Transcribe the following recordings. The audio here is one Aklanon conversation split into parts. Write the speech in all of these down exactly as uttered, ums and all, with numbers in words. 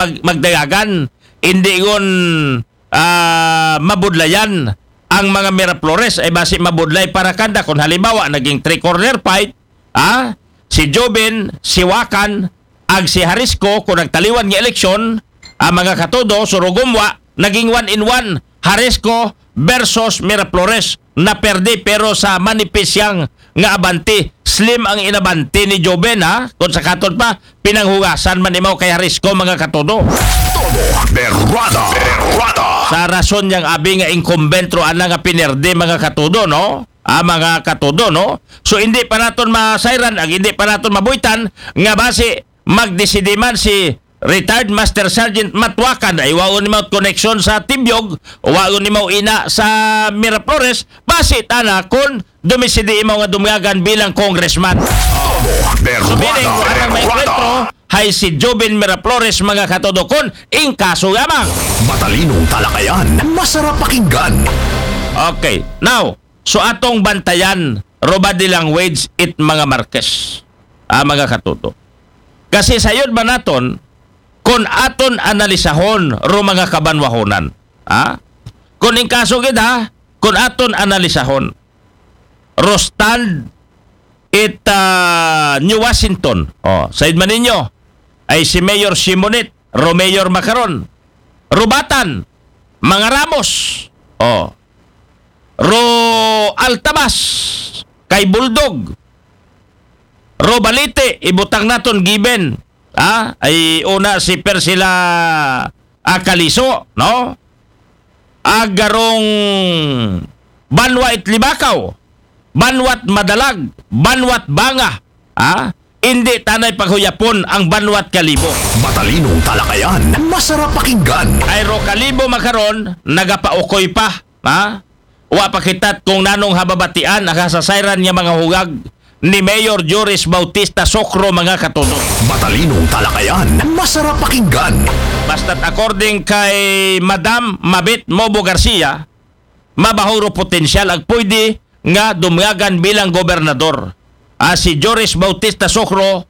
mag-, magdayagan, hindi gun, ah, mabudlayan ang mga Miraflores, ay basi mabudlay para kanda. Kung halimbawa, naging three-corner fight, ah, si Joven, si Wakan, ag si Harisco, kung nagtaliwan nga eleksyon, ang mga katudo, surugumwa, naging one in one, Harisco versus Miraflores, na perde, pero sa manipis yang nga abanti, slim ang inabanti ni Joven, ha? Kung sa katon pa, pinanghugasan man imaw kay Harisco, mga katudo. Todo Berwada. Berwada. Sa rason yang abi nga incumbent ro ana nga pinerde, mga katudo, no? Ah, mga katudo, no? So, hindi pa naton masayran, ag hindi pa naton mabuitan, nga basi magdeside man si retired Master Sergeant Matwakan, ay waon ni mao connection sa Tibyog, waon ni mao ina sa Miraflores, basi tana kung dumiside imaw nga dumyagan bilang congressman. So, meaning, Berwada, anang may Berwada. Enkwentro, hay si Joven Miraflores, mga katudo, kun in kaso lamang. Matalinong talakayan, masarap pakinggan. Okay, now, so atong bantayan, robadi language it mga Marquez. Ah, mga katudo. Kasi sayod ba naton, kung aton analisahon, ro mga kabanwahonan. Ha? Kung in kaso gid, ha, kung aton analisahon, ro stand it, ah, New Washington. Oh, sayod man ninyo, ay si Mayor Simonit, ro Mayor Macaron. Rubatan, mga Ramos. Oh. Ro Altabas, kay Bulldog. Ro Balite, ibutang naton given. Ha? Ay una si Persila Akaliso, no? Agarong banwa it Libakaw, banwat Madalag, banwat Banga. Ha? Hindi tanay paghuyapon ang banwat Kalibo. Matalinong talakayan, masarap pakinggan. Ay ro Kalibo makaron, nagapaukoy pa. Ha? Wa pa kitat kung nanong hababatian ang hasasayran nga mga hugag ni Mayor Joris Bautista Sokro, mga katudo. Matalinong talakayan, masarap pakinggan. Basta't according kay Madam Mabit Mobo Garcia, mabaho ro potensyal ag pwede nga dumyagan bilang gobernador. Ah, si Joris Bautista Sokro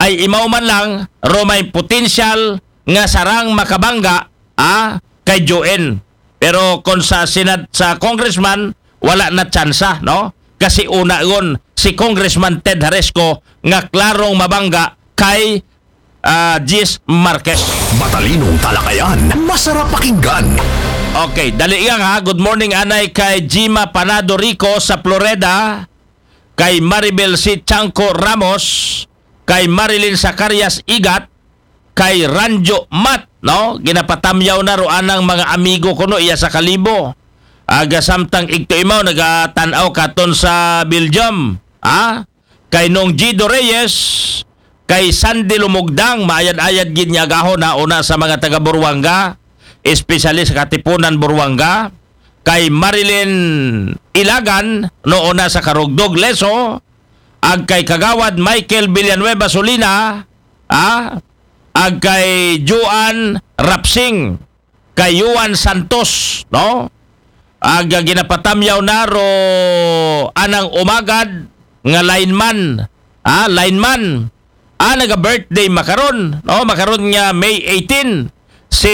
ay imaw man lang ro may potensyal nga sarang makabangga, ah, kay Joen. Pero kung sa Senat, sa congressman, wala na tsansa, no? Kasi una ron si Congressman Ted Haresco nga klarong mabangga kay, ah, Jis Marquez. Matalinong talakayan, masarap pakinggan. Okay, dali lang ha. Good morning, anay kay Gima Panado Rico sa Florida, kay Maribel C. Chanco Ramos, kay Marilyn Zacarias Igat, kay Ranjo Mat, no? Ginapatamyaw na ro anang mga amigo kuno iya sa Kalibo. Aga samtang igto imaw nagatan-aw katon sa Belgium, ha? Kay Nong Gido Reyes, kay Sandy Lumugdang, maayad-ayad gid nga agahon, ha, una sa mga taga Buruanga, especially sa Katipunan, Buruanga, kay Marilyn Ilagan, no, una sa Karugdog, Leso, ag kay Kagawad Michael Villanueva Solina, ah, ag kay Juan Rapsing, kay Juan Santos, no? Ag, ah, ginapatamyaw na ro anang umagad nga lineman, ah, lineman. Ah, naga-birthday makaron, no? Makaron nga May eighteen, si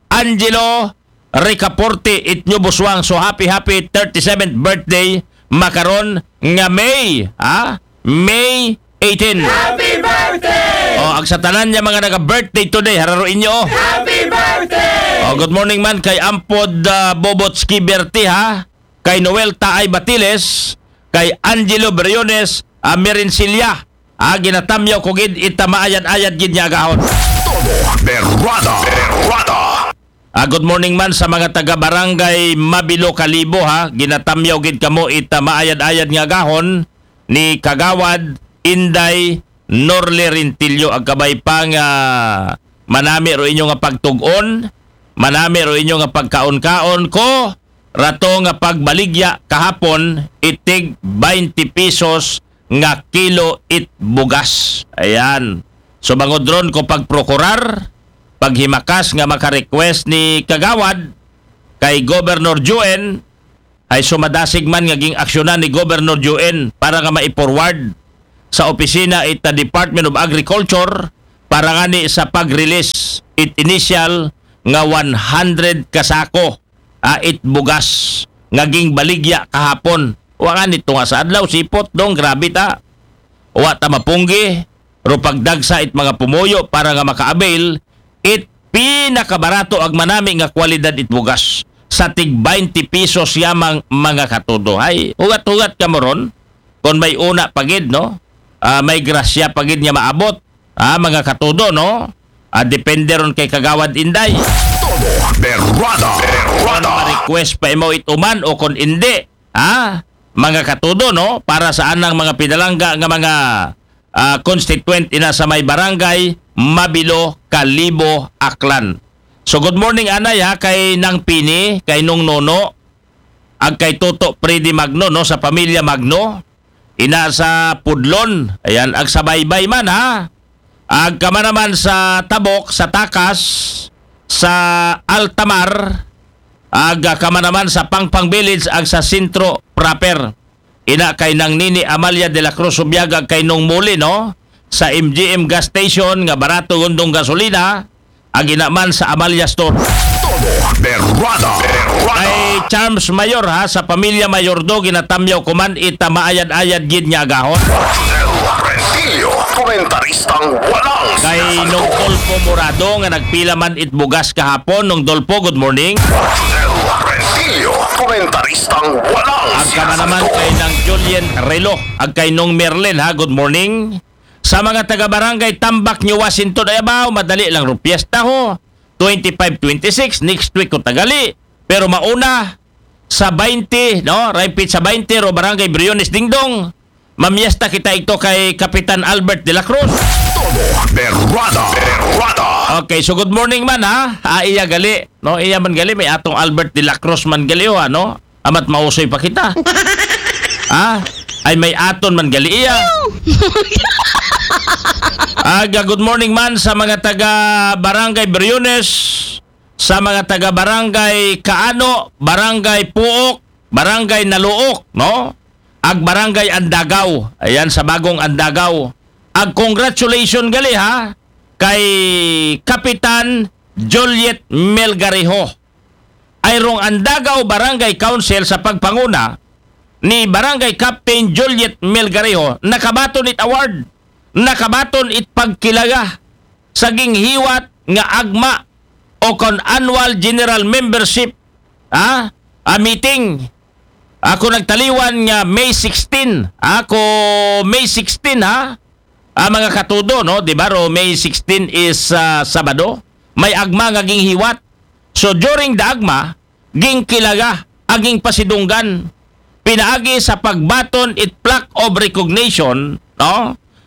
Angelo Ricaporte Itnyo Buswang. So, happy, happy thirty-seventh birthday makaron nga May, ha? May eighteen. Happy birthday! Oh, ang sa tanan niya mga naga-birthday today, hararo inyo, oh. Happy birthday! Oh, good morning man kay Ampod, ah, Bobotski Berti, ha? Kay Noel Taay Batiles, kay Angelo Briones, ah, Merencilia. Ah, ginatamyaw ko gid ita maayad-ayad gid nga agahon. Todo Berwada. Berwada. Ah, good morning man sa mga taga Barangay Mabilo, Kalibo, ha. Ginatamyaw gid kamo ita maayad-ayad nga agahon ni Kagawad Inday Norle Rintillo, ag kabay pa nga manami ro inyo nga pagtug-on, manami ro inyo nga pagkaon-kaon ko, rato nga pagbaligya kahapon, itig twenty pesos nga kilo it bugas. Ayan. So, bangod ron ko pagprokurar, paghimakas nga maka-request ni Kagawad kay Governor Juen, ay sumadasig man nga ging-aksyonan ni Governor Juen para nga mai-forward sa opisina it Department of Agriculture arangani sa pag-release it initial nga one hundred ka sako, ah, it bugas nga gingbaligya kahapon. Wa nga nito nga sa adlaw, sipot dong, grabe ta. Wa ta mapunggi, ro pagdagsa it mga pumuyo para nga maka-avail it pinakabarato ag manami nga kwalidad it bugas sa tig twenty pesos yamang, mga katudo. Ay, hugat-hugat ka mo ron. Kung may una pagid, no? Ah, may grasya pagid nga maabot. Ah, mga katudo, no? Ah, depende ron kay Kagawad Inday. Todo Berwada. Berwada. Kung ma-request pa imo ituman o kung indi. Ah, mga katudo, no? Para sa anang mga pinalangga nga mga, ah, constituent ina sa may barangay Mabilo, Kalibo, Aklan. So, good morning, anay, ha, kay Nang Pini, kay Nung Nono, ag kay Toto Freddy Magno, no, sa pamilya Magno, ina sa Pudlon, ayan, ag sa Baybay man, ha. Ag kama naman sa Tabok, sa Takas, sa Altamar, ag, ah, kama naman sa Pangpang Village, ag sa Sentro proper. Ina kay Nang Nini Amalia de la Cruz Subiaga, kay Nung Muli, no? Sa M G M gas station nga barato gundong gasolina, ag ina man sa Amalia Store. Todo Berwada. Berwada. Kay Charms Mayor, ha, sa pamilya Mayordo, ginatamyaw ko man ita maayad-ayad gid nga agahon. Rosel Rentillo, komentaristang walang Kay Nung sinasagot. Dolpo Morado nga nagpila man it bugas kahapon, Nung Dolpo, good morning. Rosel Rentillo, komentaristang walang Ag kama naman sinasagot. Kay Nang Julian Relo, ag kay Nung Merlin, ha, good morning. Sa mga taga Barangay Tambak, New Washington, ay abaw, madali lang ro piyesta ho. Twenty-five, twenty-six, next week ko tagali. Pero mauna, sa twenty, no? Raipit sa twenty, ro Barangay Briones Dingdong. Mamiesta kita ito kay Kapitan Albert de la Cruz. Todo Berwada. Berwada. Okay, so good morning man, ha. Ah, iya gali, no? Iya man gali, may atong Albert de la Cruz man gali, oh, ano? Amat mausoy pa kita. Ha? Ay, may aton man gali iya. Aga, good morning man sa mga taga Barangay Briones, sa mga taga Barangay Kaano, Barangay Puok, Barangay Naluok, no? Ag Barangay Andagaw. Ayan, sa bagong Andagaw. Ag congratulations gali, ha, kay Kapitan Juliet Melgarejo. Ay rong Andagaw Barangay Council sa pagpanguna ni Barangay Captain Juliet Melgarejo, nakabaton it award, nakabaton it pagkilaga sa ginghiwat nga agma o kon annual general membership, ha? A meeting. Ako nagtaliwan nga May sixteen. Ako May sixteen, ha? Ah, mga katudo, no? Di ba, ro, May sixteen is, ah, Sabado. May agma nga ginghiwat. So, during the agma, gingkilaga, aging pasidunggan. Pinaagi sa pagbaton it plaque of recognition, no?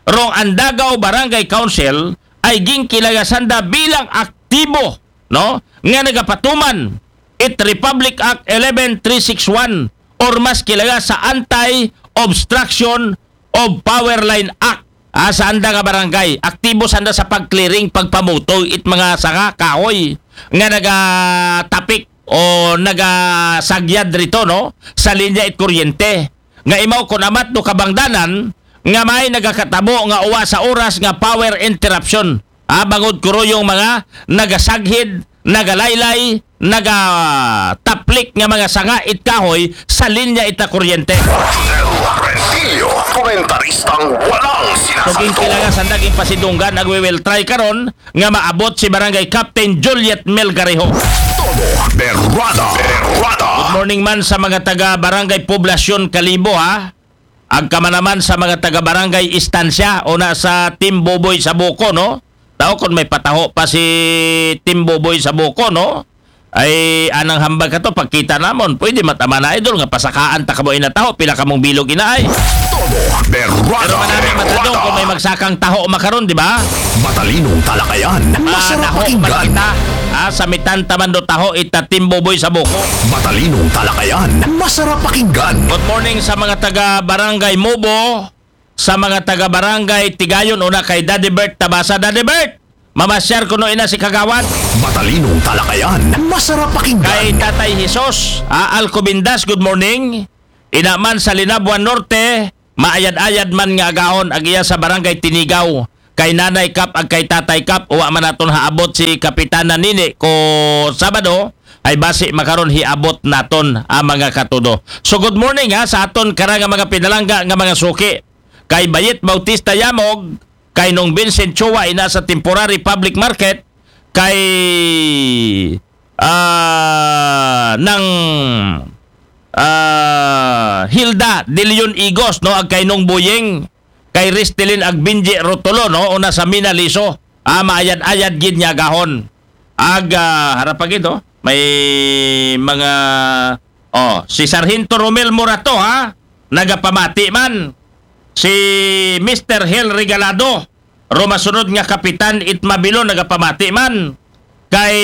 Rong Andagaw Barangay Council ay gingkilaga sanda bilang aktibo, no? Nga nagapatuman it Republic Act eleven three six one or mas kilaga sa Anti-Obstruction of Power Line Act. Ah, sa anda nga barangay, aktibo sanda sa pag-clearing, pagpamutoy it mga sanga, kahoy nga nagatapik o nagasagyad rito, no? Sa linya it kuryente. Nga imaw kon amat do kabangdanan nga may nagakatabo nga uwa sa oras nga power interruption. Ah, bangod kuruyong mga nagasaghid, nagalaylay, nagataplik nga mga sanga it kahoy sa linya ita kuryente. Rosel Rentillo, komentaristang walang So, sinasagot. Ginkilaga sanda, ginpasidunggan, ag we will try karon nga maabot si Barangay Captain Juliet Melgarejo. Todo Berwada. Berwada. Good morning man sa mga taga Barangay Poblacion Kalibo, ha. Agkama naman sa mga taga Barangay Estancia, una sa Team Boboy sa Buko, no? Tao, kung may pataho pa si Team Boboy sa Buko, no? Ay, anang hambal ka to, pagkita namon. Pwede matama na, idol, nga pasakaan ta kamo ina taho, pila kamong bilog ina ay. Todo Berwada. Pero manami matadong kung may magsakang taho makaron, di ba? Matalinong talakayan, Ah, masarap taho pakinggan. Makita. Ah, sa mitan taman do taho ita Team Boboy sa Buko. Matalinong talakayan, masarap pakinggan. Good morning sa mga taga Barangay Mubo, sa mga taga Barangay Tigayon, una kay Daddy Bert Tabasa. Daddy Bert, mamasyar kuno ina si Kagawad. Matalinong talakayan, masarap pakinggan. Kay Tatay Jesus, ah, Alcobindas, good morning. Ina man sa Linabuan Norte, maayad-ayad man nga agahon ag iya sa Barangay Tinigaw. kay Nanay Kap ag kay Tatay Kap, wa man naton haabot si Kapitana nini ko Sabado, ay basi makaron hiabot naton ang mga katudo. So good morning ha sa aton karang mga pinalangga nga mga suki. Kay Bayet Bautista Yamog, kay Nong Vincent Chua ina sa temporary public market, kay ah, nang ah, Hilda De Leon Igos, no, ag kay Nong Buying, kay Ristelin ag Binji Rotolo, no, una sa Minaliso. Ah, maayad-ayad gid nga gahon. Ag ah, harap pa gid, oh. May mga, oh, si Sargento Romel Morato, ha, nagapamati man. Si Mister Hel Regalado, rumasunod nga kapitan it Mabilo, nagapamati man. Kay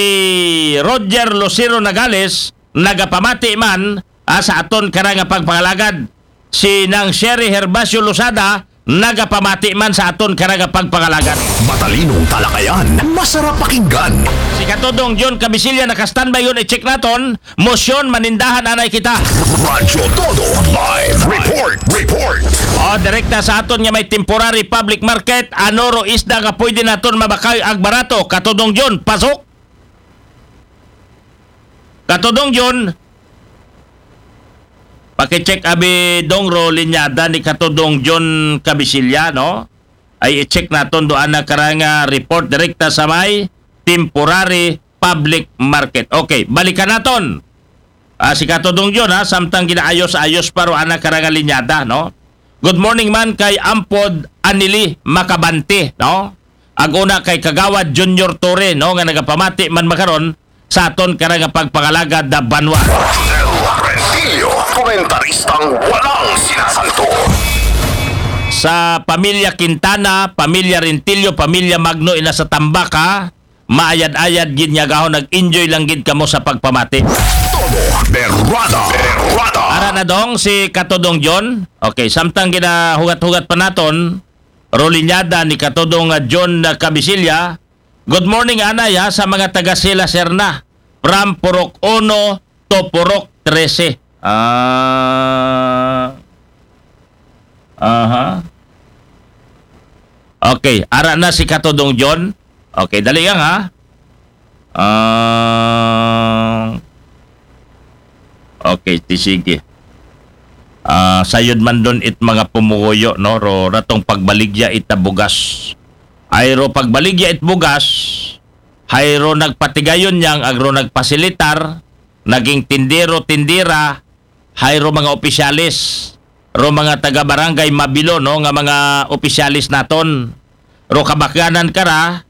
Roger Lucero Nagales, nagapamati man, ah, sa aton karang pagpangalagad. Si Nang Sherry Herbacio Lozada, nagapamati man sa aton karang pagpangalagad. Matalinong talakayan, masarap pakinggan. Si Katudong John Kabisilya naka-standby yun, i-check naton. Motion, manindahan anay kita. Radyo Todo Live Report. Report. O, direkta sa aton nga may temporary public market, ano ro isda nga pwede naton mabakay ag barato? Katudong John, pasok. Katudong John, pakicheck abi dong ro linyada ni Katudong John Kabisilya, no? Ay i-check naton do ana karang report direkta sa may temporary public market. Okay, balikan naton. Ah, si Katudong John, ha, samtang ginaayos-ayos pa ro ana karang linyada, no? Good morning man kay Ampod Anili Makabante, no? Ag una kay Kagawad Junior Torre, no, nga nagapamati man makaron sa aton karang pagpangalagad da banwa. Rentillo, komentaristang walang sinasanto. Sa pamilya Quintana, pamilya Rentillo, pamilya Magno ina sa Tambaka, maayad-ayad gid nga gahon, nag-enjoy lang gid kamo sa pagpamati. Todo Berrada. Berrada. Ara na dong si Katodong John. Okay, samtang ginahugat-hugat pa naton, rolinyada ni Katodong, ah, John, ah, Kabisilya. Good morning, anay, ha, sa mga taga Sila Serna. From Purok Uno to Purok Trese. Ah. Aha. Okay, ara na si Katodong John. Okay, dali lang, ha. Ah. Okay, ti sige. Ah, sayod man don it mga pumuguyo, no? Ro, ratong pagbaligya it bugas. Ay ro pagbaligya it bugas, hay ro nagpatigayon niyang ag ro nagpasilitar, naging tindero, tindera, hay ro mga opisyalis, ro mga taga Barangay Mabilo, no, nga mga opisyalis naton. Ro kabakyanan kara,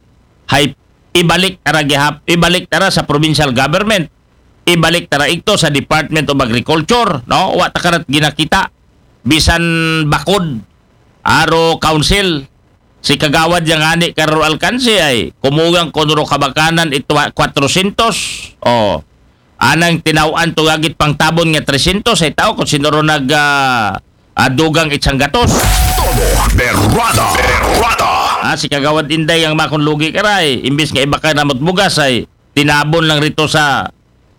hay ibalik tara gihap, ibalik tara sa provincial government, ibalik tara igto sa Department of Agriculture, no? Wa ta karat ginakita. Bisan bakod, aro council, si Kagawad yang ani karo alkanse ay kumugang kuno ro kabakyanan ito kwatrosyentos. O, anang tinaw-an to gagit pangtabon nga tresyentos ay tao kung sino ro nag, ah, ah, dugang itsang gatos. Todo Berrada. Berrada. Ah, si Kagawad Inday ang makon lugi karay, imbis nga ibakay namot bugas ay tinabon lang rito sa,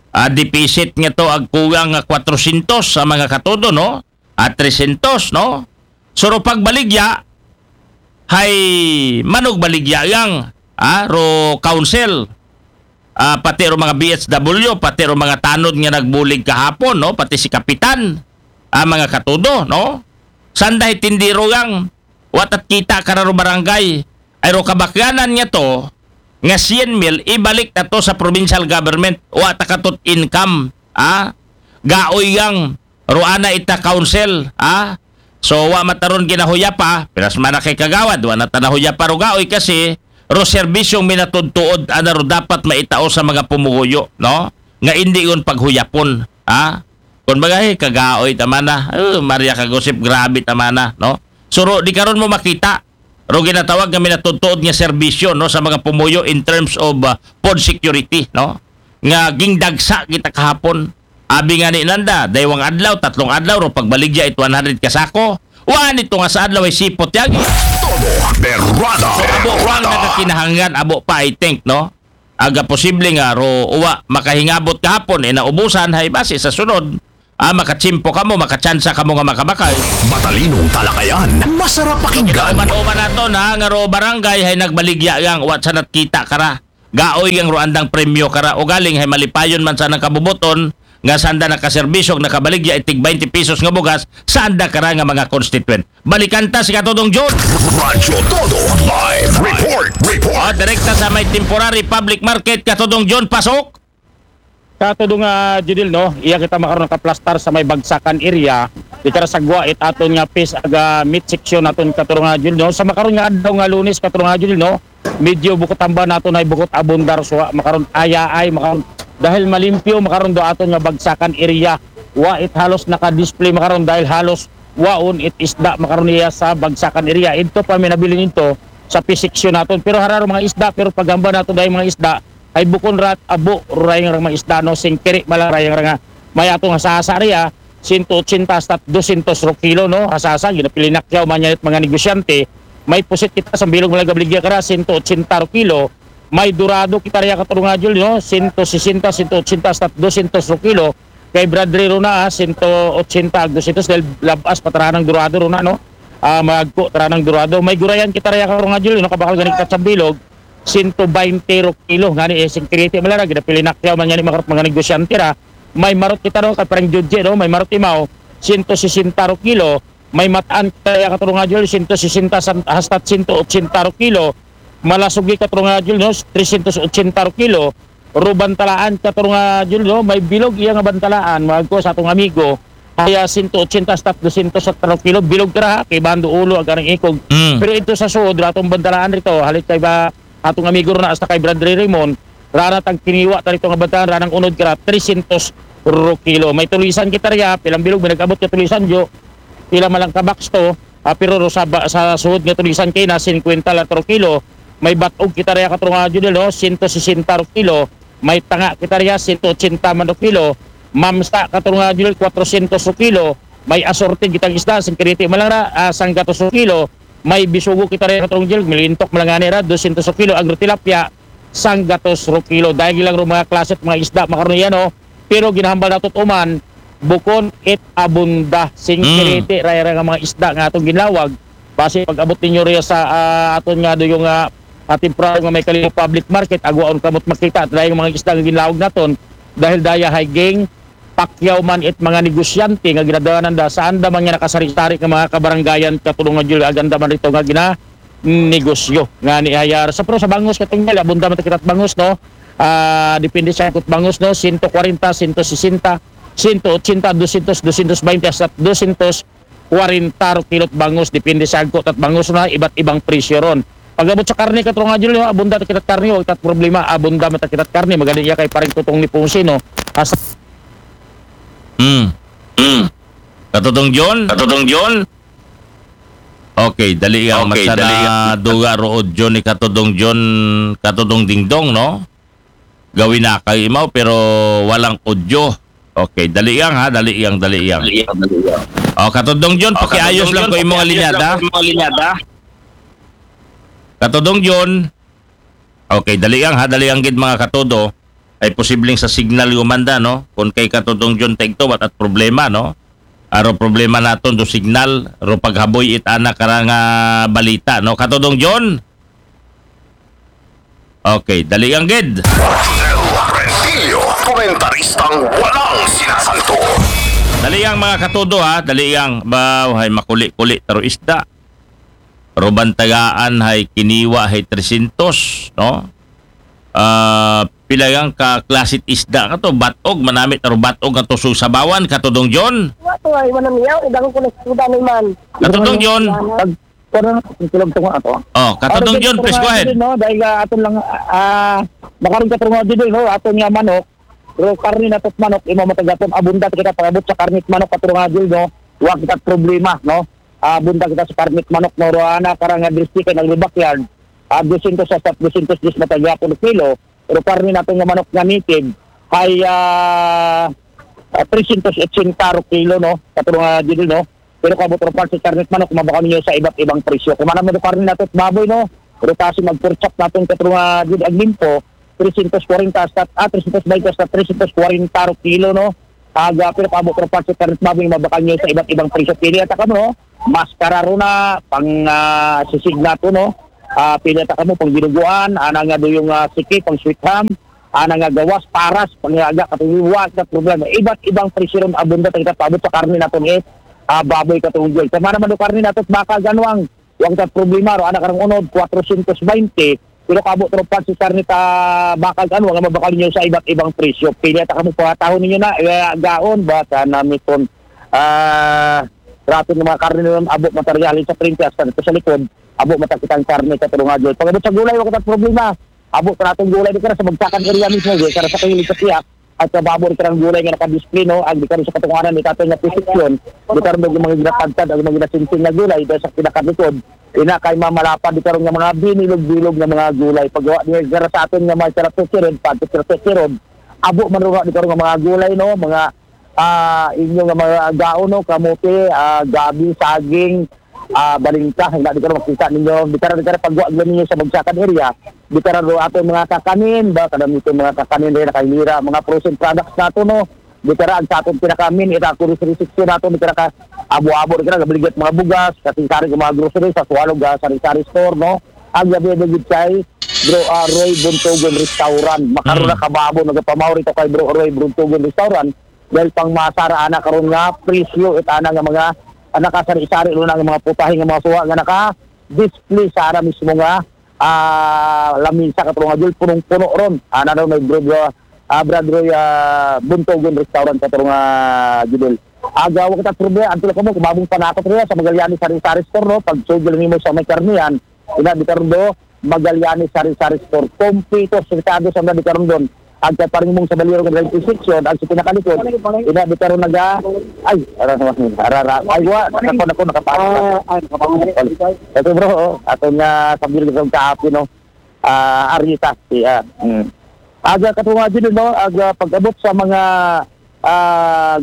ah, deficit nga to ag kugang nga kwatrosyentos sa mga katodo, no? At tresyentos, no? So, ro pagbaligya, hay manugbaligya yang, ah, ro council, ah, pati ro mga B H W, pati ro mga tanod nga nagbulig kahapon, no? Pati si Kapitan, ah, mga katodo, no? Sanday tindero yang, wa tat kita kara ro barangay, ay ro kabakyanan nga to, nga syen mil, ibalik na to sa provincial government, wa ta katot income, ah? Gaoy yang, ro ana ita council, ah? So, wa mataron ginahuyapa, pinas man na kay Kagawad, wa na ta nahuyapa ro gaoy kasi, ro serbisyong minatudtuod, ana ro dapat maitao sa mga pumuguyo, no? Nga indi yun paghuyapon, ah? Kung bagay, kagaoy tamana, oh, Maria Kagusip, grabe tamana, no? So, ro, di karon mo makita, ro ginatawag nga minatudtuod nga serbisyo, no, sa mga pumuyo in terms of, ah, food security, no? Nga gingdagsa kita kahapon. Abi nga ni nanda, daywang adlaw, tatlong adlaw, ro pagbaligya it one hundred ka sako. Wa nito nga sa adlaw ay sipot yagi. Todo Berrada. So, abo pa ang nagakinahanglan, abo pa, I think, no? Aga posible nga ro uwa makahingabot kahapon, eh, naubusan, hay base sa sunod, Ah, makatsimpo kamo, makatsansa kamo nga makabakal. Matalinong talakayan, masarap pakinggan. Uman-uman naton ha, nga ro barangay hay nagbaligya yang wa sa natkita kara. Gaoy yang ro andang premyo kara. Ugaling hay malipayon man sa nang kabubuton nga sanda nakaserbisyo, nakabaligya itig twenty pesos nga bugas sa anda kara nga mga constituent. Balikan ta si Katudong John. Radyo Todo Live Report. Report. Ah, direkta sa may temporary public market, Katudong John, pasok. Katudong nga Judil, no, iya kita makaron nakaplastar sa may Bagsakan area. Di kara sagwa it aton nga pis aga meat section naton, Katudong nga Judil, no. Sa makaron nga adlaw nga Lunes, Katudong nga Judil, no, medyo bukot hamba naton ay bukot abundar suwa makaron, ayaay makaron, dahil malimpyo makaron do aton nga Bagsakan area. Wa it halos naka-display makaron dahil halos waon it isda makaron iya sa Bagsakan area. Ito pa may nabilin ito sa pis section naton. Pero hararo mga isda, pero paghamba nato dahil mga isda, ay bukon rat abo rayang rang mga isda, no, singkiri mala rayang ranga. May atong hasasa riya, sento ochenta hasta dosyentos ro kilo, no, hasasa, ginapili nakyaw man yan it mga negosyante. May pusit kita sa bilog mala gabligya kara, sento ochenta ro kilo. May dorado kita riya, Katudong nga Judil, no, sento sesenta, sento ochenta hasta dosyentos ro kilo. Kay Bradley ro na, ah, sento ochenta ag dosyentos dahil labas pa taranang dorado ro na, no. Ah, magko taranang dorado. May gurayan kita riya, Katudong nga Judil, no, kabakal gani kita sa bilog, sento baynte ro kilo. Ngani, eh, singkiriti mala ra, ginapili nakyaw man ngani mga, mga negosyante ra. May marot kita, no, kay parang Judge, no, may marot imaw, sento sesenta ro kilo. May mataan kita riya, Katudong nga Judil, sento sesenta san-, hasta sento ochenta ro kilo. Malasugi, Katudong nga Judil, no, tresyentos ochenta ro kilo. Ro bantalaan, Katudong nga Judil, no, may bilog iya nga bantalaan, magko sa atong amigo. Kaya sento ochenta hasta dosyentos ro kilo, bilog kara, ha, kay bando ulo ag anang ikog. Mm. Pero ito sa suod, ratong bantalaan rito, halit kay ba atong amigo ro na hasta kay Bradley Raymond, rana tang kiniwa ta rito nga bantalaan, ranang unod kara, tresyentos ro kilo. May tulisan kita riya, pilang bilog, may nag-abot ka tulisan, jo. Pila man lang ka box to, ah, pero ro sa, ba- sa suod nga tulisan kay na singkwenta lang ro kilo. May batog kita riya, Katudong nga Judil, no, sento sesenta ro kilo. May tanga kita riya, sento ochenta man ro kilo. Mamsa, Katudong nga Judil, kwatrosyentos ro kilo. May asorted kitang isda, singkiriti man lang ra, ah, sanggatos ro kilo. May bisugo kita riya, Katudong Judil, milintok man lang ngani ra, dosyentos ro kilo. Ag ro tilapia, sanggatos ro kilo. Dahil lang ro mga klase at mga isda, makaron yan, no. Pero ginahambal nato uman, bukon it abunda, singkiriti, raya ra nga mga isda nga atong ginlawag. Basi pag-abot ninyo riya sa, ah, aton nga do yung, ah, ah, temporaryo nga may Kalibo Public Market, agwaon kamot makita, dahil mga isda nga ginlawag naton, dahil daya hay ging pakyaw man it mga negosyante nga ginadanan da sa anda man nga nakasari-sari nga mga kabarangayan, Katudong nga Judil, ag anda man rito nga gina negosyo nga ni hayar sa, pero sa bangos, Katudong Judil, abunda man ta kita bangos, no. Ah, depende sa ikot bangos, no, sento kwarenta, sento sesenta, sento ochenta, dosyentos, dosyentos baynte hasta dosyentos kwarenta ro kilot bangos, depende sa agko tat bangos na, iba't ibang presyo ron. Pag-abot sa karne, Katudong nga Judil, no, abunda ta kita karne, wa tat problema, abunda man ta kita karne, magani iya kay parang tutong ni Ponce, no. As Mm. Mm. Katudong John? Katudong John? Okay, dali yang. Okay, dali yang. Duga ro audio ni Katudong John, Katudong Dingdong, no? Gawin na kay imaw, pero walang audio. Okay, dali yang ha, dali yang, dali yang. Dali yang, dali yang. Oh, Katudong John, pakiayos lang ko imo nga linyada. Katudong John. Okay, dali yang ha, dali yang gid mga katudo. Ay posibleng sa signal gumanda, no? Kung kay Katudong John Tegto, wat at problema, no? Aro problema naton do signal, ro paghaboy it ana kara nga balita, no? Katudong John? Okay, dali yang gid. Rodel Rentillo, komentaristang walang sinasanto. Dali yang mga katudo ha, dali yang ba hay makuli-kuli taro isda. Ruban tagaan hay kiniwa hay tresyentos, no? Ah, pila yang ka klasit isda ka to, batog, manamit taro batog nga tusog sabawan, Katudong John. Wa to ay manamiyaw, ibangon ko na sa suda ni man. Katudong John. Wala. Pag pero ang tulog tungo ato. Oh, Katudong John, please go ahead. No, dahil ah, aton lang ah makaron ka tungo dito, no, aton nga manok. Pero karne na tot manok, imo matagapon, abunda kita pag-abot sa karne at manok, katulong nga Jul, no. Wa kita problema, no. Ah, abunda kita sa karne at manok, no. Roana karang nga district kay naglubak yan. Ah, dosyentos hasta dosyentos diyes matagapon kilo. Pero karne natin nga manok nga native ay ah, ah, tresyentos otsenta ro kilo, no. Katulong nga Jul, no. Pero kung abot ro pa sa karne at manok, mabaka ninyo sa iba't ibang presyo. Kung ano mo karne natin at baboy, no. Pero kasi mag-pork chop natin katulong nga Jul, aglimpo, tresyentos kwarenta hasta, ah, tresyentos baynte hasta tresyentos kwarenta ro kilo, no. Aga, pero paabot ra pa si Terence Babing, mabakal niyo sa iba't ibang presyo. Pili ata kamo, no? Maskara ro na, pang ah, sisig nato, no? Ah, pili ata kamo, pang dinuguan, ana nga do yung ah, siki, pang sweet ham, ana nga gawas, paras, pang aga, katuwa, sa problema. Iba't ibang presyo ron, abunda, tayo paabot sa karne nato, eh. Ah, baboy katong Jul. Sa mga naman do karne nato, baka ganwang, wag ta problema ro, ana karong unod, four twenty. Pero kabot ro pa si karne ta baka ganwang, nga mabakal niyo sa iba't ibang presyo. Pili ata kamo, pangatahon ninyo na, eh, gaon, ba, sa namiton. Ah, rato ng mga karne nun, abot materialin sa treinta, sa, sa likod, abot matakitang karne, katulong nga Jul. Pag-abot sa gulay, wag ta problema. Abot pa natong gulay di ka sa bagsakan area mismo, di ka sa kahilig sa tiyak. At sa babo di ka ng gulay nga nakadisplay, no? Ang di ka sa katunganan ni tatay nga posisyon, di ka rin mga ginatagtad, ang mga ginasinsing na gulay, dahil sa pinakalikod, ina kay mamalapad di ka rin nga mga binilog-bilog nga mga gulay. Paggawa di ka sa aton nga mga sarap sa sirod, pati sa sirod, abo man rin di ka rin nga mga gulay, no? Mga ah, inyo nga mga gaon, no? Kamote, ah, gabi, saging, ah, balingka, hindi di ka rin makita ninyo. Di ka rin, di ka rin pagwa ninyo sa bagsakan area. Di ka rin ato mga kakanin, ba? Kadam ito mga kakanin rin, nakahilira, mga frozen products nato, no? Di ka rin, ang sa atong pinakamin, ita ako rin sa resection nato, di ka rin ka abo-abo, di ka rin, gabaligyan mga bugas, kasi sari mga grocery, sa Swallow, ga, sari-sari store, no? Ang gabi, gabi, gitsay, Bro ah, Roy Buntugon Restaurant. Makaroon Mm. na kababo, nagapamaw rito kay Bro Roy Buntugon Restaurant. Dahil pang masara ana karon nga presyo, it ana nga mga, ah, nakasari-sari ro na nga mga putahe nga mga suha nga naka-display sa ana mismo nga, ah, lamisa, katulong nga Jul, punong-puno ron. Ana ron may Bro, ah, Brad Roy, ah, Buntugon Restaurant, katulong nga Judel. Aga, wag kita problema, ang tulad ko mo, kumabong panakot rin sa Magallanes sari-sari store, no? Pag sugil nimo sa may karnihan, ina di karon do, Magallanes sari-sari store. Kompleto, sirkado sa mga di karon doon. Ang kaparing mong sa Baliro, ng section, ang sa pinakalikod, ina di karon naga, ay, ara, ara, ara, ay, wa, nakapon ako, nakapasok. Ah, ah, nakapasok. Ito bro, oh, ato nga sa Bilog ng Kaapi, no? Ah, Arita, yeah. Mm. Aga katunga din, no? Aga pag-abot sa mga ah,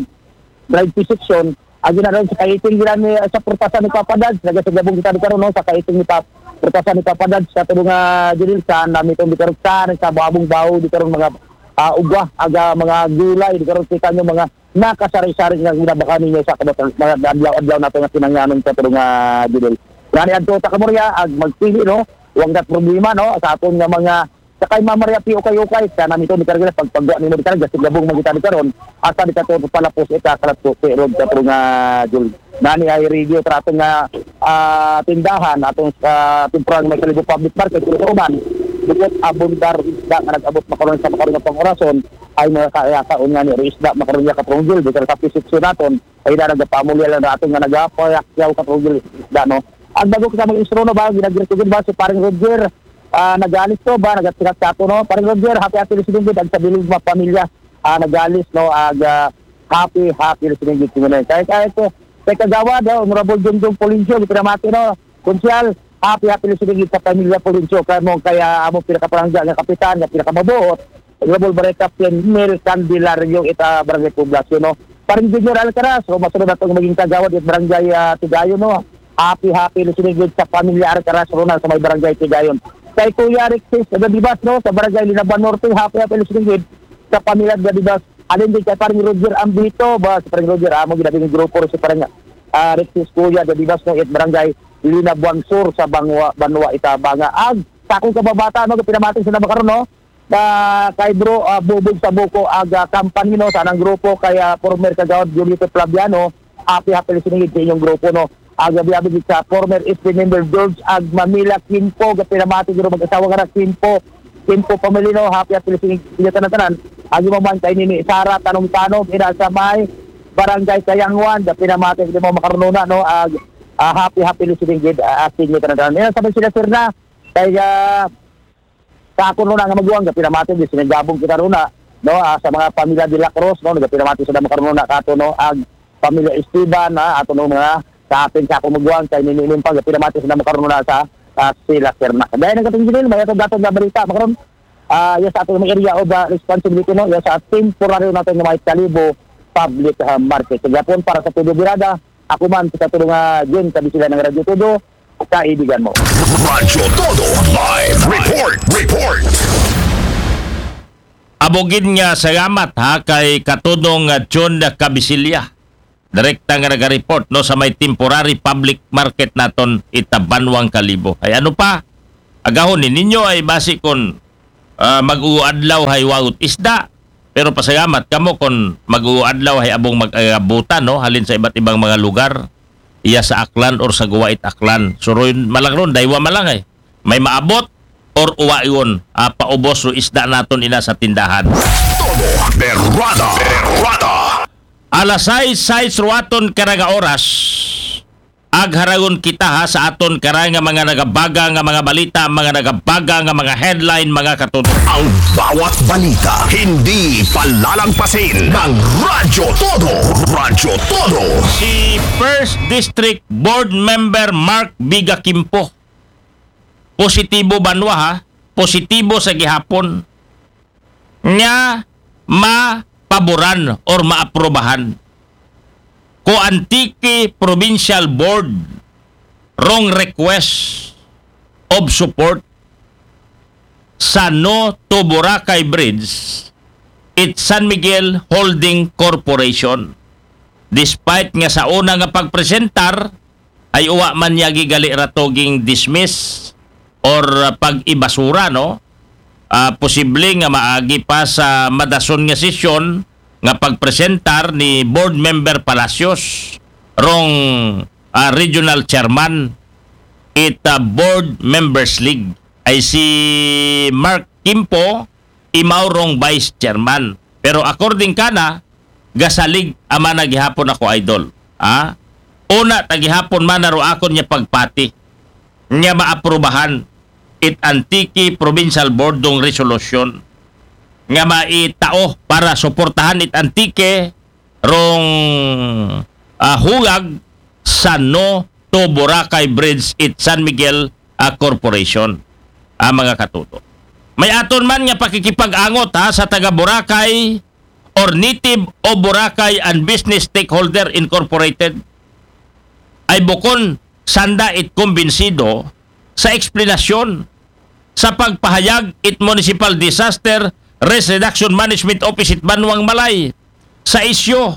drive section, agi na ron sa kaiting gila ni sa purtasan ni Papa Dads, naga sa gabong kita di karon, no, sa kaiting ni Pap purtasan ni Papa Dads, sa tulong nga Judel, sa nami itong di karon sa, sa babong baho, di karon mga ah, ugwa, aga mga gulay, di karon kita nyo mga nakasari-sari nga ginabaka ninyo sa kabat-, mga adlaw-adlaw nato nga kinangyanon sa tulong nga Judel. Ngani adto ta kamorya, ag magpili, no, wag na problema, no, sa aton nga mga sa kay Mama Maria Pio kay ukay, sa nami to ni karga pagpagwa ni mo di karga sa gabong magita di karon, asa di ka to palapos ita kalat ko kay rod ka nga Jul. Nani ay radio trato nga ah, tindahan atong sa temporary may Kalibo Public Market, pero man bukod abundar isda nga nag-abot makaroon sa makaroon nga pang-orason, ay mga kaya kaon nga ni isda makaroon niya katrong Jul, di ka sa pisipso naton, ay na nagapamulya lang natin nga nagapayakyaw katrong Jul isda, no? Ang bago kita mag-instruno ba, ginagirigin ba si Paring Roger, ah, nagalis to ba, nagatirat sa ato, no? Paring Roger, happy, happy listening, good, ang sa Bilog mga pamilya, ah, nagalis, no? Ag, ah, happy, happy listening, good, tingnan. Kaya, kaya ko, kay Kagawad, ah, Honorable Junjun Polincio, gipinamati, no? Konsyal, happy, happy listening, good, sa pamilya Polincio, kaya mo, kaya amo pinakapalangga nga kapitan, nga pinakamabuot, Honorable Barangay Captain Mel Candelario, ita Barangay Poblacion, no? Paring Junior Alcaraz, o masunod na itong maging kagawad at Barangay ah, Tigayon, no? Happy, happy listening, good, sa pamilya Alcaraz, Ronald, sa may Barangay Tigayon. Kay Kuya Rexis Dadibas, no, sa Barangay Linaban Norte, happy, happy listening, good, sa pamilya Dadibas. Alin din kay Paring Roger Ambito, ba, si Paring Roger, amo ginabi ng grupo, si Paring ah, Rexis Kuya Dadibas, no, at Barangay Linabuan Sur sa Banwa, Banwa Itabanga. Ag, sa akong kababata, no, pinamati sa nabakaroon, no, na kay Bro ah, Bubog sa Buko, aga company, no, sa anang grupo, kay ah, former kagawad Julito Flaviano, happy, happy listening sa inyong grupo, no. Aga biyabi sa former S P member George Ag Mamila Kimpo, gapinamati guro mag-asawa nga na Kimpo, Kimpo family, no, happy, happy listening sa tanan-tanan. Agi mo man kay Nini Sara Tanom-Tanom, ina sa may Barangay Kayangwan, gapinamati guro mo makarununa, no, ag ah, happy, happy listening gid, ah, asin niyo tanan-tanan. Ina sa may sila sir na, kay ah, sa ako ron nga maguwang, gapinamati, di sinigabong kita ron na, no, ah, sa mga pamilya de la Cruz, no, gapinamati sila makaroon na kato, no, ag pamilya Esteban, ah, ato no mga sa atin sa akong maguwang, kay niniinom pa, gapinamati sila makaroon na sa ah, sila Serna. Dahil ng katong Junel, may atong gatong nga balita, makaroon, ah, yes, sa atong mga area of ah, responsibility, no, yes, sa temporary natin nga may Kalibo Public ah, Market. Sa Japon, para sa Tudo Birada, ako man sa tulong nga Jun, sabi sila ng Radyo Tudo, kaibigan mo. Radyo Todo Live Report. Report. Amo gid nga salamat ha kay Katudong, ah, John Cabisilla. Direkta nga naga-report, no, sa may temporary public market naton ita Banwang Kalibo. Ay ano pa? Agahon ni ninyo ay basi kon, ah, mag-uadlaw hay wagot isda. Pero pasalamat kamo kon mag-uadlaw hay abong mag-agabutan, no, halin sa iba't ibang mga lugar. Iya sa Aklan or sa Guwait Aklan. Suroy malang ron, daywa malang ay. May maabot or uwayon, ah, paubos o isda naton ina sa tindahan. Todo berrada, berrada. Alas sais, sais ruwaton karanga oras. Agharagon kita ha sa aton karanga mga nagabaga nga mga balita, mga nagabaga nga mga headline, mga katuto. Ang bawat balita, hindi palalangpasin ng Radyo Todo. Radyo Todo. Si First District Board Member Mark Biga Kimpo. Positibo banwa ha. Positibo sa gihapon. Nga mapaboran or maaprubahan ko Antique Provincial Board rong request of support sa No to Boracay Bridge it San Miguel Holding Corporation. Despite nga sa una nga pagpresentar, ay uwa man niya gigali rato ging dismiss or, ah, pag-ibasura, no? Ah, posible nga maagi pa sa madason nga sesyon nga pagpresentar ni Board Member Palacios rong, ah, regional chairman it, ah, Board Members League. Ay si Mark Kimpo, imaw rong vice chairman. Pero according kana, gasalig amana gihapon ako, idol. Ha? Una ta gihapon man naro akon niya pagpati nga maaprubahan it Antique Provincial Board dong resolution nga maitao para suportahan it Antique rong, ah, hulag sa No to Boracay Bridge it San Miguel, ah, Corporation, ah, mga katuto. May aton man nga pakikipag-angot ha sa taga Boracay or Native of Boracay and Business Stakeholder Incorporated ay bukon sanda it kumbinsido sa eksplanasyon sa pagpahayag it Municipal Disaster Risk Reduction Management Office it Banwang Malay sa isyu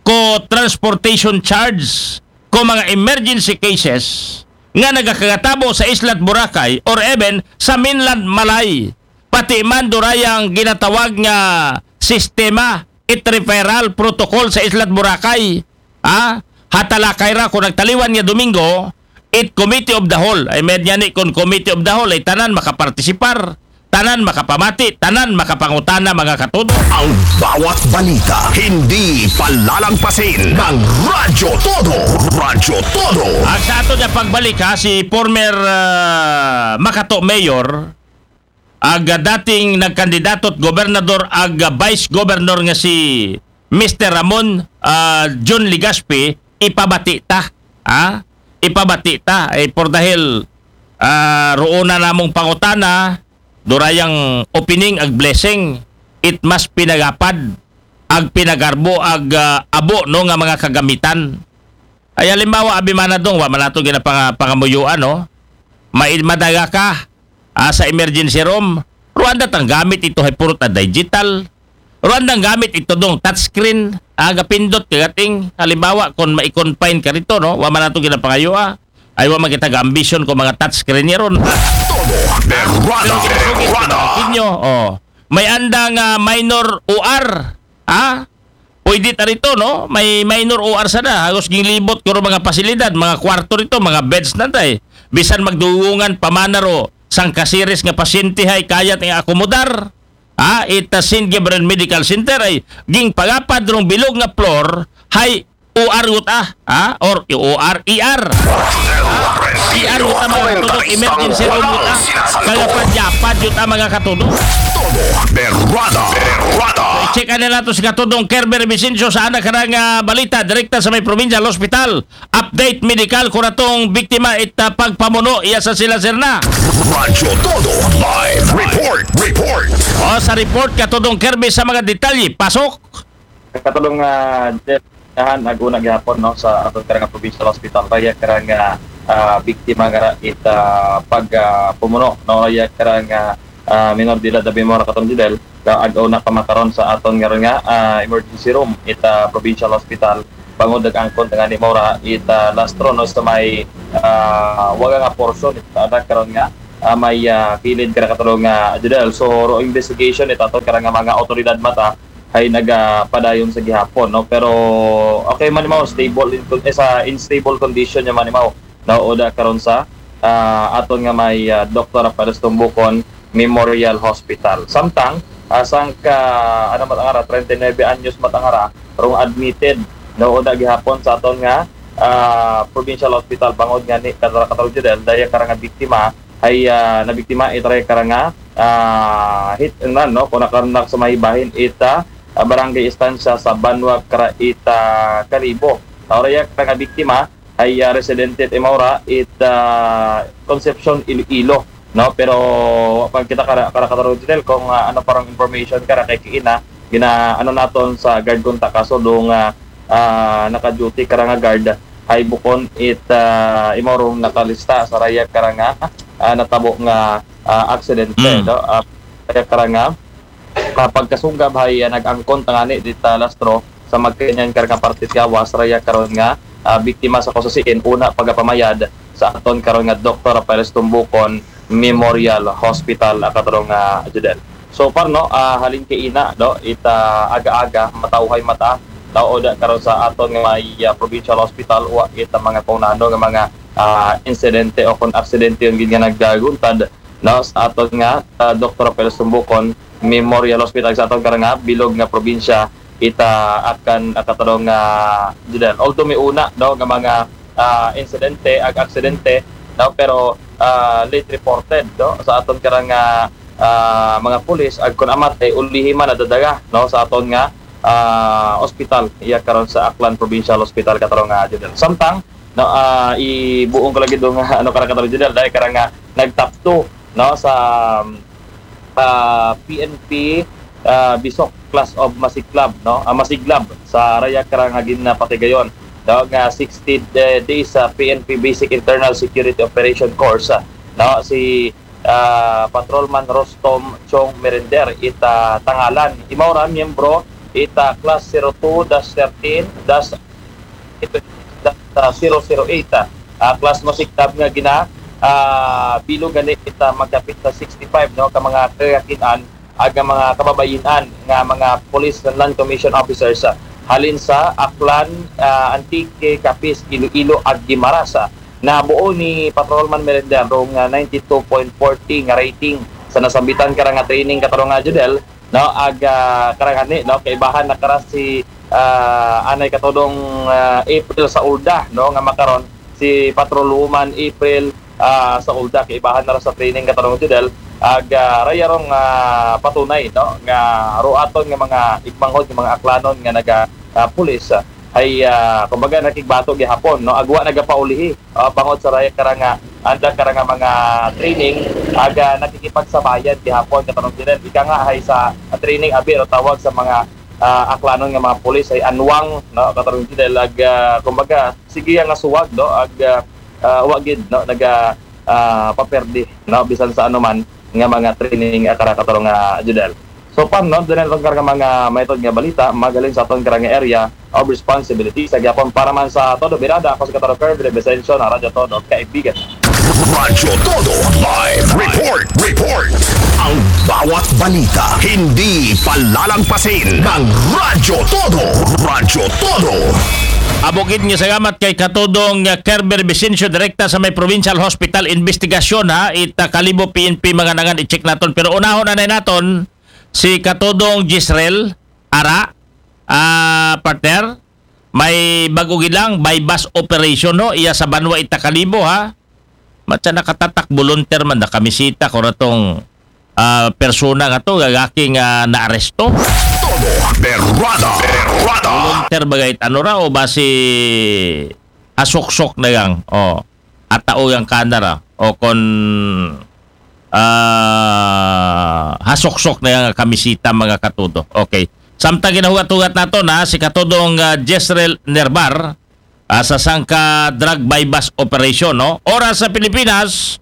ko transportation charge ko mga emergency cases nga nagakagatabo sa Islat Boracay or even sa mainland Malay. Pati man durayang ginatawag nga sistema it referral protocol sa Islat Boracay. Ha? Hatalakay ra ko nagtaliwan nga Domingo, it Committee of the Whole. Ay, med niya ni kon Committee of the Whole, ay tanan makapartisipar, tanan makapamati, tanan makapangutana, mga katuto. Ang bawat balita, hindi palalangpasin ng Radyo Todo. Radyo Todo. At sa ato niya pagbalik, ha, si former, ah, Makato Mayor, ag, ah, dating nagkandidato at gobernador ag, ah, vice governor nga si Mister Ramon, ah, John Legaspi, ipabati ta. Ha? Ipabati ta. Eh, por dahil, ah, roon na namong pangutana, durayang opening ag blessing, it mas pinagapad, ag pinagarbo, ag, ah, abo, no, nga mga kagamitan. Ay, halimbawa, abi man na dong, wa man nato ginapanga-, pangamuyuan, no? May madaga ka, ah, sa emergency room, Rwanda tang gamit ito hay purot na digital. Rwanda ang gamit ito dong touchscreen, ah, gapindot kagating. Halimbawa, kung ma-confine ka rito, no? Wa man nato ginapangayua. Ay, wa man kita ga-ambition kung mga touchscreen niya ron. Todo, berrada, Pero ginasugid ko berrada. Kinyo, oh. May andang, ah, minor O R, ha? Pwede ta rito, no? May minor O R sana. Hagos ginlibot ko ro mga pasilidad, mga kwarto rito, mga beds na tay. Bisan magduungan pa man na ro, sangka series nga pasyente hay kayat nga akomodar. Ha? Ita Saint Gabriel Medical Center ay ging pagapad rong bilog nga floor, hay O R yuta, ha? Or O R E R. E R yuta, mga katudok, emergency room yuta. Kaya padyapad yuta, mga katudok. Todo berrada, berrada. Check na nato si Katudong Kerber Vicencio sa anak karang, ah, balita direkta sa may provincial hospital. Update medical kuratong biktima ita pagpamuno iya sa sila sirna. Radyo Todo live report, report. O, sa report, Katudong Kerber sa mga detalye. Pasok. Katulong, ah, Jeff, nahan ag una gihapon, no, sa aton karang provincial hospital, raya karang, ah, ah, biktima nga ra it, ah, pag, ah, pumuno, no, raya karang, ah, ah, minor de edad, abi mo ra katong Jidel, kaag-o na kamakaron sa aton nga, nga ah, emergency room ita provincial hospital. Bangod nag-angkon ta ngani mao ra ita lastro, no, sa may ah, waga nga portion ita karon nga ah, may ah, kilid kara katulong nga Judel. So, ro investigation ita aton kara nga mga otoridad mata ay nagapadayon sa gihapon, no? Pero okay man mao, stable in, eh, sa in stable condition niya man mao. Nauda karon sa ah, aton nga may ah, Doktor Rafael Tumbukon Memorial Hospital. Samtang ah, sangka ano matangara, treinta y nueve anyos matangara, rong admitted, nauda gihapon sa aton nga ah, provincial hospital. Bangod nga ni katara katara Judel, daya kara nga biktima ay ah, nabiktima ita ray kara nga ah, hit and run, no, kung nakarunak sa mahibahin ita ah, barangay Estancia sa Banwa kara ita Kalibo. Ang raya kara nga biktima ay ah, residente at imaura ita Concepcion, Iloilo, no? Pero wa pa kita kara kara kataro detail kung ah, ano parang information kara kay kiina gina ano naton sa guard kung takaso do nga ah, naka-duty kara nga guard ay bukon it ah, imaurong nakalista sa raya kara nga ah, natabo nga ah, aksidente, Mm. no? Ah, raya kara nga ah, pagkasunggab hay ah, nag-angkon tangani dita lastro sa magkanyan kara nga parte gawas raya karon nga ah, biktima sa kasusiin una pagapamayad sa aton karon nga Doktor Rafael Tumbukon Memorial Hospital, ah, katarong nga Judel. So far, no, ah, halin kay ina, no, ita aga-aga matawhay mata, taoda karon sa aton nga may ah, provincial hospital, wa kita mga kaunano nga mga ah, insidente o kung aksidente yung gid nga nagaguntad, no, sa aton nga ah, Doktor Rafael Tumbukon Memorial Hospital sa aton karang nga bilog nga probinsya ita akan ah, katarong nga Judel. Although may una, no, nga mga ah, insidente ag aksidente, no, pero ah, late reported, no, sa aton karang nga ah, mga pulis ag kun amat ay ulihi man nadadaga, no, sa aton nga ah, ospital iya karon sa Aklan Provincial Hospital katarong nga Judel. Samtang, no, ah, ibuong ko lagi do nga ano kara katarong Judel dahil karang nga nag-top two, no, sa ah, P N P ah, Bisok Class of Masiklab, no, ah, Masiglab sa raya karang hagin na patigayon, no, nga sixty de- days sa P N P Basic Internal Security Operation Course, ah, no, si ah, Patrolman Rostom Chong Merender ita tangalan. Imaw ra miyembro ita class zero two dash thirteen dash zero zero eight, ah, class Masiklab nga gina ah, bilog gani ita magkapit sa sixty-five, no, ka mga kagakinan aga mga kababayinan nga mga police and non-commissioned officers ah, halin sa Aklan, ah, Antique, Capiz, Iloilo ag Guimaras. Ah, nabuo ni Patrolman Merender rong ah, ninety-two point forty nga rating sa nasambitan kara nga training katarong nga Judel, no, ag ah, karang hani, no, kaibahan na kara si ah, anay katudong ah, April sa ulda, no, nga makaron si Patrolwoman April ah, sa ulda kaibahan na ra sa training katarong Judel ag ah, raya rong ah, patunay, no, nga ruaton nga mga igmanghod nga mga aklanon nga naga ah, pulis ah, ay ah, kumbaga nakigbato gihapon, no, agwa nagapaulihi ah, bangod sa raya karanga anda karanga mga training aga nakikipagsabayan gihapon katarong Judel ika nga hay sa ah, training abi ro tawag sa mga ah, aklanon nga mga pulis ay anwang, no, katarong Judel ag ah, kumbaga sige nga suwag, no, ag ah, ah, wa gid, no, naga ah, paperdi, no, bisan sa anuman nga mga training ah, kara katarong nga Judel. So pan, no, dunay aton karang mga maitod nga balita magalin sa aton karang area of responsibility sa gyapon para man sa Todo Birada. Ako si Kataro Kirby Vicencio na Radyo Todo, kaibigan. Radyo Todo Live Report. Report. Ang bawat balita hindi palalagpasin ng Radyo Todo. Radyo Todo. Abogid nga salamat kay Katudong nga Kerber Vicencio direkta sa may Provincial Hospital investigasyon ha ita Kalibo P N P mga nangan i-check naton pero unahon anay naton si Katudong Gisrel Ara ah partner may bago gilang buy bus operation no iya sa Banwa ita Kalibo ha matsa nakatatak volunteer man nakamisita ko ratong ah, persona nga to gagaki nga naaresto Todo Berrada. Berrada. volunteer bagay ano ra o basi asuksok na yang o atao yang kanara o kon ah, hasuksok na yang kamisita mga katudo okay samtang ginahugat-hugat nato na si katudong uh, Jezreel Nerbar ah, sa sangka drug buy-bust operation no oras sa Pilipinas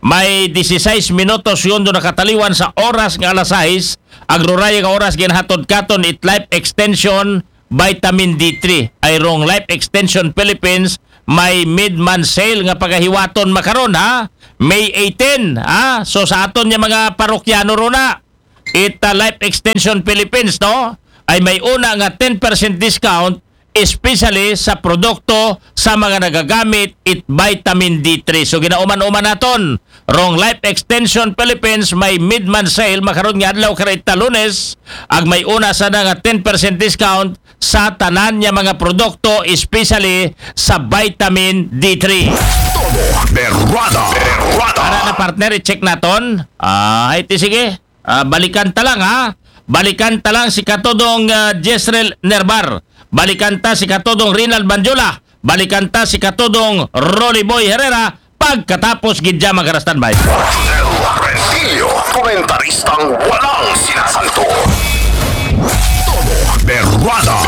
may disisais minutos yun do nakataliwan sa oras nga alas sais, ag ruraya nga oras ginhatod katon it Life Extension Vitamin D three. Ay rong Life Extension Philippines, may mid-month sale nga pagahiwaton makaron, ha? May eighteen, ha? So sa aton nga mga parokyano runa, it uh, Life Extension Philippines, no? Ay may una nga ten percent discount, especially sa produkto sa mga nagagamit it vitamin D three. So ginauman-uman naton, rong Life Extension Philippines may mid-month sale makaron nga adlaw, karita Lunes, ag may una sa na nga ten percent discount sa tanan nga mga produkto, especially sa vitamin D three. Todo Berwada. Berwada. Para na, partner, i-check naton. Ah, ay ti sige. Ah, balikan ta lang, ha. Balikan ta lang si Katodong uh, Jezreel Nerbar. Balikan ta si Katodong Rinald Banjola. Balikan ta si Katodong Rolly Boy Herrera. Pagkatapos gid dyan, mga ka-standby. Rentillo, komentaristang walang sinasanto. Todo Berwada.